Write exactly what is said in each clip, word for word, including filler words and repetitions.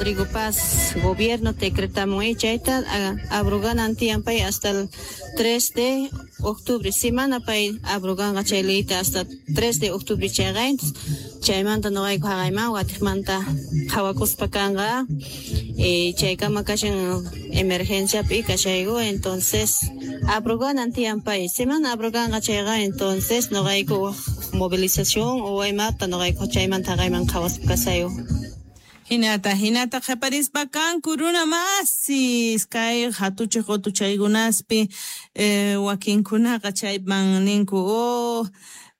Rodrigo Paz gobierno decretamun chayta abroganan tiyan pay hasta el tres de octubre. Semana pay abroganqa chay leyta hasta tres de octubre chayqa. Chaymanta noqayku haqayman watiqmanta qhawakuspa kanqa. Eh, chaykama kashan emergenciapi kashayku, entonces abroganan tiyan pay. Semana abroganqa chayqa, entonces noqayku movilización o imata noqayku chaymanta haqayman qhawaspa kasayku. Hinata, hinata qhaparispa kanku runa masis kay hatuchiq qutuchaykunaspi eh, wakinkunaqa chayman ninku oh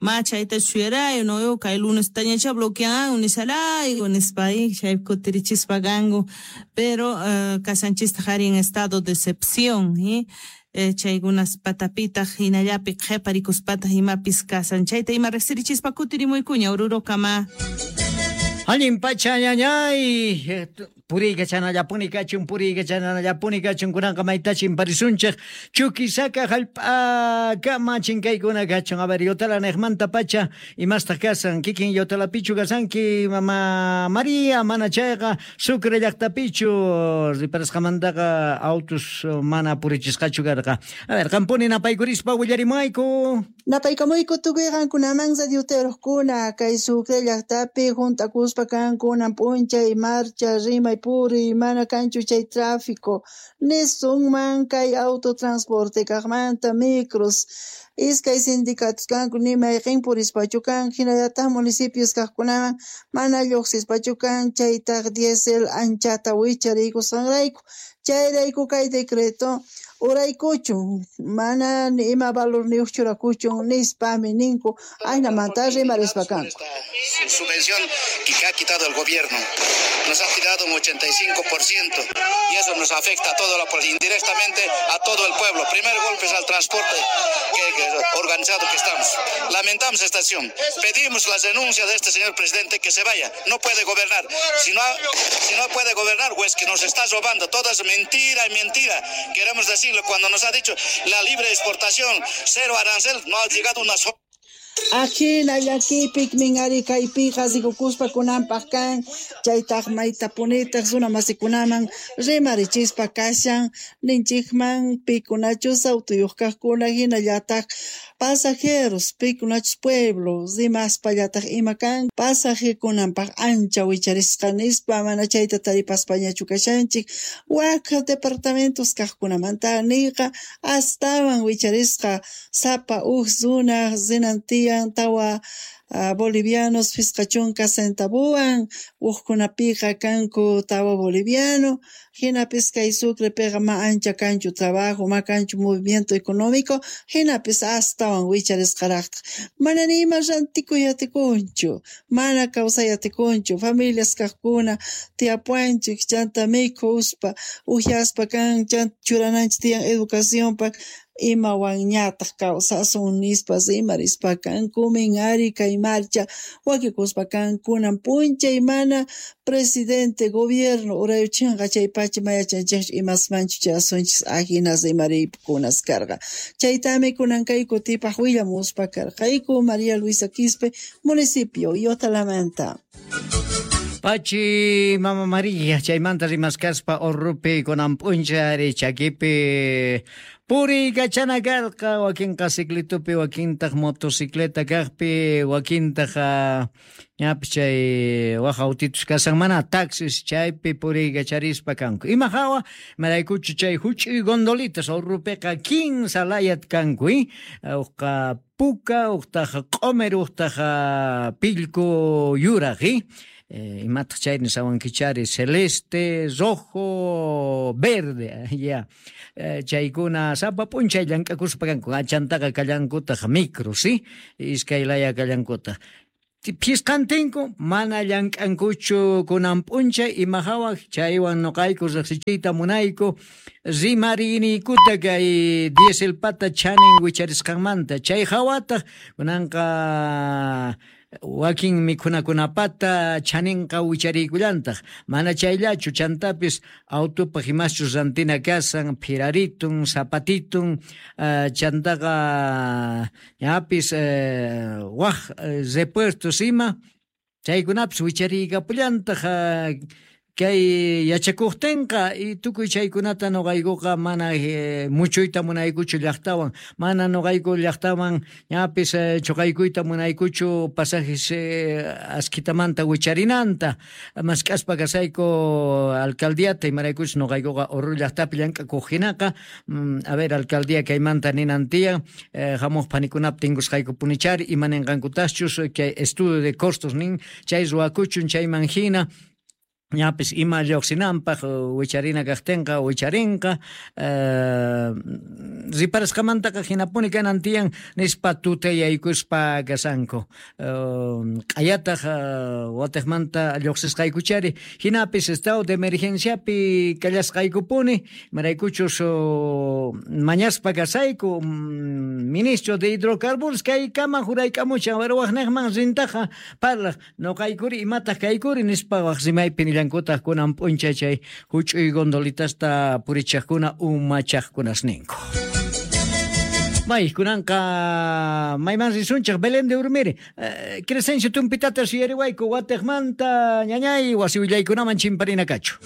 ma chayta suyarayo no yo kay lunes tañacha bloquean nisarayku nispa chay kutirichispa kanku pero eh, kasanchista qhari en estado de excepción ¿eh? Eh, chaykunas patapitaq hinallapi qhiparikuspataq imapis kasan chayta ima riqsirichispa kutirimuykuña Orurokama. Allin pacha ñañay, puriykachanallapuni kachun, puriykachanallapuni kachun, kunanqa maytachin parisunchik, Chuquisaca hallp'akama chinkaykuna kachun. A ver, Yotala niqmanta pacha, imastaq kasan, kikin Yotalapichu kasanki, mama María, mana chayqa, Sucre llaqtapichu, riparasqamantaqa autos mana purichisqachu karqa. A ver, qampuni napaykurispa willarimayku. Napaykamuyku tukuy qankunaman radioteruqkuna, kay Sucre llaqtapi juntakuspa kankunan p'unchay marcha rimay puriy mana kanchu chay tráfico nisunman kay autotransporte kaqmanta micros iskay sindicatos kanku ni mayqin purispachu kan hinallataq municipios kaqkunaman mana lluqsispachu kan chaytaq diésel anchata wichariykusqanrayku chayrayku kay decreto uraykuchun mana ni ima valorniyuq churakuchun nispami ninku aynamanta rimarispa kanku. Subvención que ha quitado el gobierno nos ha quitado un ochenta y cinco por ciento y eso nos afecta a todo la, indirectamente a todo el pueblo. Primer golpe es al transporte que, que organizado que estamos. Lamentamos esta acción. Pedimos la renuncia de este señor presidente que se vaya. No puede gobernar. Si no, si no puede gobernar, pues que nos está robando. Todo es mentira y mentira. Queremos decirlo, cuando nos ha dicho la libre exportación, cero arancel, no ha llegado una sola. Ajina llakipik minari kaypiqa rikukuspa kunanpaq kan chaytaq maytapunitaq runa masikunaman rimarichispa kashan ninchikman pikunachus autuyuq kaqkuna hinallataq pasajeros pikunachus pueblo rimaspallataq ima kan pasajekunanpaq ancha wicharisqa nispa mana chayta taripaspañachu kashanchik wak departamentos kaqkunamanta niqa astawan wicharisqa sapa uj runa rinantiyan tawa uh, bolivianos fisqa chunka centavuan uqkunapiqa kanku tawa boliviano hinapis kay Sucrepiqa ma ancha kanchu trabajo ma kanchu movimiento económico hinapis astawan wicharisqaraqtaq mana ni ima rantikuy atikunchu mana kawsay atikunchu familias kaqkuna tiyapuanchik chanta mikhuspa uhyaspa kan chanta churananchik tiyan educacionpaq imawanñataq kawsasun nispa rimarispa kanku ari kay marcha wakikuspa kankunan p'unchay mana presidente gobierno urayuchinqa chay pacha mayachanchikchu imasmanchu chayasunchis ajina rimariykunas karqa chaytami kunan kay kutipaq willamuspa karqayku María Luisa Quispe municipio Yotalamanta. Pachi mama María chaymanta rimaskaspa Orrupi kunan p'unchay chakipi puriykachana karqa wakinqa ciclitupi wakintaq motocicleta kaqpi wakintaq ñapis chay waq autitus kasan mana taxis chaypi puriykacharispa kanku ima hawa imaraykuchu chay huch'uy gondolitas Orrupiqa kinsa layat kanku uqqa puka uqtaq q'umir uqtaq pillku yuraq Eh, imataq chay nisawankichari celeste, rojo, verde, ya. Eh, chaykuna sapa p'unchay llank'akuspa kanku achantaqa kallankutaq micro, si? Iskay laya kallankutaq. Phisqantinku mana llank'ankuchu kunan p'unchay ima hawa chaywan nuqayku riqsichiyta munayku rimariniykuta kay dieselpata chanin wicharisqanmanta chay hawataq kunanqa wakin mikhunakunapata chaninqa wichariykullantaq mana chayllachu chantapis autopaq imaschus rantina kasan phiraritun zapatitun uh, chantaqa ñapis uh, waq uh, repuestos ima chaykunapis wichariykapullantaq uh, Kay yachakuqtinqa y tukuy chaykunata nuqaykuqa mana eh, muchuyta munaykuchu llaqtawan, mana nuqayku llaqtawan ñapis eh, chuqaykuyta munaykuchu pasajes eh, askitamanta wicharinanta mask'aspa kasayku alcaldiata imaraykuchus nuqaykuqa Oruro llaqtapi llank'akuq hinaqa mm, a ver alcaldía kaymanta ninan tiyan eh, hamuq panikunap tinkusqayku punichari ima ninqankutaschus kay estudio de costos nin chay ruwakuchun chayman hina ñapis ima lluqsinanpaq wicharina kaqtinqa wicharinqa eh, riparasqamantaqa hinapuni kanan tiyan nispa tutayaykuspa kasanku eh, q'ayataq eh, watiqmanta lluqsisqaykuchari hinapis estado de emergenciapi kallasqaykupuni imaraykuchus oh, mañaspa kasayku mm, ministro de hidrocarburos kaykama jurayk'amuchan waqniqman rintaqa parlaq nuqaykuri imataq kaykuri nispa waq rimaypi nillankutaq kunan p'unchay chay huch'uy gondolitasta purichaqkuna umachaqkunas ninku. May kunanqa mayman risunchik Belén de Urmiri eh, Crescencio tumpitata suyariwayku watiqmanta ñañay wasi willaykunaman chimparina kachu.